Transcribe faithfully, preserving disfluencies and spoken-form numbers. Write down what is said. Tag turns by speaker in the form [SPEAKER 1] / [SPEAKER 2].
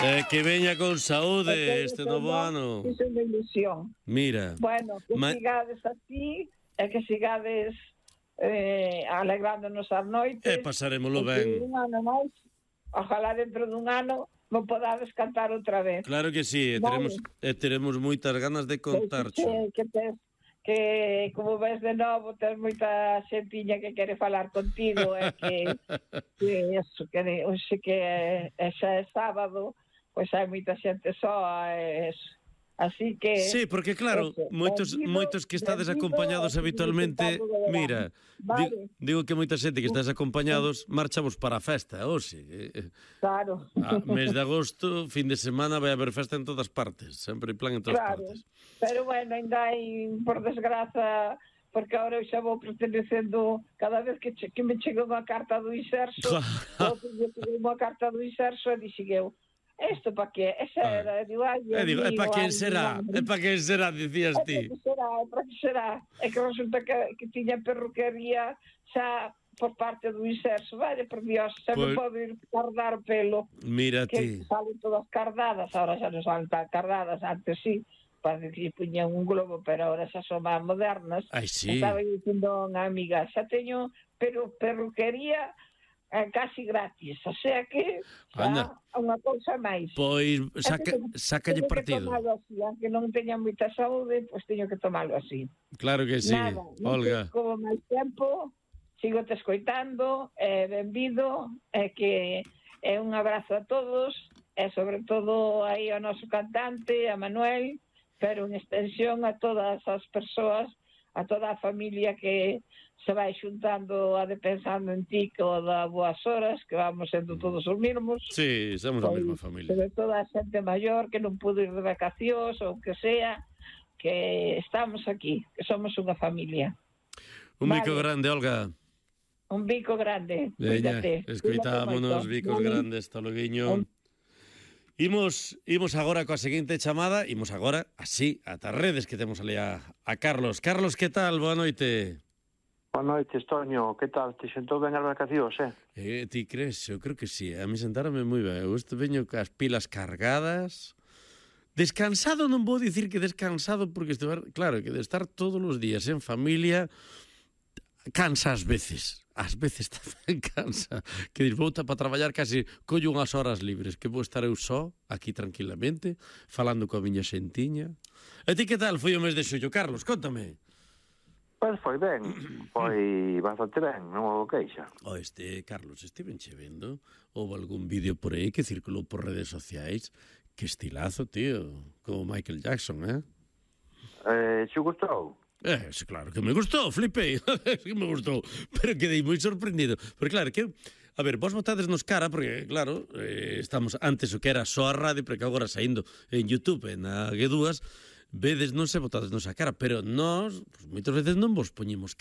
[SPEAKER 1] Eh, que veña con saúde este novo ano.
[SPEAKER 2] Iso é unha ilusión.
[SPEAKER 1] Mira.
[SPEAKER 2] Bueno, que
[SPEAKER 1] ma...
[SPEAKER 2] sigades así, e que sigades eh, alegrándonos as noites.
[SPEAKER 1] E pasaremoslo ben.
[SPEAKER 2] Un ano máis, ojalá dentro dun ano non podades cantar outra vez.
[SPEAKER 1] Claro que sí, e teremos, e teremos moitas ganas de contar.
[SPEAKER 2] Que, que, tes, que como ves de novo, tens moita xentiña que quere falar contigo, e que, que eso, que hoxe que é, xa é sábado, pois hai moita xente soa, e eso. Así que...
[SPEAKER 1] Sí, porque claro, eso, moitos, bendido, moitos que estades bendido, acompañados habitualmente, mira, vale. digo, digo que moita xente que estás acompañados marchamos para a festa, hoxe.
[SPEAKER 2] Claro.
[SPEAKER 1] A mes de agosto, fin de semana, vai haber festa en todas partes, sempre en plan en todas
[SPEAKER 2] claro.
[SPEAKER 1] partes.
[SPEAKER 2] Pero bueno, ainda hai, por desgraza, porque agora eu xa vou pertenecendo, cada vez que, che, que me chega unha carta do Inserso, claro. Unha carta do Inserso, e dixen eu, isto para que? Esa era, digo, ai,
[SPEAKER 1] é, digo, é para quen será? É para quen será, dicías ti?
[SPEAKER 2] É para que será, é para que será. É que resulta que, que tiña perruquería xa por parte do Inserso, vale, por Dios, xa pues... me podo ir cardar o pelo.
[SPEAKER 1] Mira
[SPEAKER 2] que
[SPEAKER 1] ti.
[SPEAKER 2] Salen todas cardadas, ahora xa non salen tan cardadas, antes sí, parece que puñan un globo, pero ahora xa son máis modernas.
[SPEAKER 1] Ai, sí.
[SPEAKER 2] Estaba dicindo unha amiga, xa teño pero perruquería eh, casi gratis, o sea que xa unha cousa máis.
[SPEAKER 1] Pois saca, sacalle partido.
[SPEAKER 2] Teño que tomalo así, aunque non teña moita saúde, pois teño que tomalo así.
[SPEAKER 1] Claro que sí,
[SPEAKER 2] nada,
[SPEAKER 1] Olga.
[SPEAKER 2] Non como máis tempo, sigo te escoitando, é eh, benvido, é eh, que é un abrazo a todos, e sobre todo aí ao noso cantante, a Manuel, pero en extensión a todas as persoas, a toda a familia que se vai xuntando a de pensando en ti co da boas horas, que vamos sendo todos os mesmos.
[SPEAKER 1] Sí, somos a mesma familia.
[SPEAKER 2] Sobre todo a xente maior que non pudo ir de vacacións ou que sea, que estamos aquí, que somos unha familia.
[SPEAKER 1] Un vale. Bico grande, Olga.
[SPEAKER 2] Un bico grande.
[SPEAKER 1] Veña, escoitámonos, bicos vale. Grandes, hasta loguiño. Un... Imos, imos agora coa seguinte chamada, imos agora, así, ata redes que temos ali a, a Carlos. Carlos, que tal? Boa noite.
[SPEAKER 3] Boa noite, Toño. Que tal? Te sentou ben as vacacións, eh?
[SPEAKER 1] Eh, ti crees? Eu creo que sí. A mí sentarame moi ben. Eu estou veño cas pilas cargadas. Descansado non vou dicir que descansado, porque estou, claro, que de estar todos os días en familia cansa ás veces. Ás veces tamén cansa. Que dis, vou para traballar casi collo unhas horas libres, que vou estar eu só, aquí tranquilamente, falando coa miña xentiña. E ti que tal foi o mes de xullo, Carlos? Cóntame.
[SPEAKER 3] Pois foi ben, foi bastante ben, non houve queixa.
[SPEAKER 1] O este, Carlos, estiven che vendo, houve algún vídeo por aí que circulou por redes sociais, que estilazo, tío, como Michael Jackson, eh?
[SPEAKER 3] Eh, xe gustou?
[SPEAKER 1] Eh, claro que me gustou, flipei, que me gustou, pero quedei moi sorprendido, porque claro, que a ver, vos botades nos cara, porque claro, eh, estamos antes o que era só a radio, porque agora saindo en YouTube, na G dúas, vedes non se botades nos a cara, pero nós, pues, moitas veces non vos poñemos cara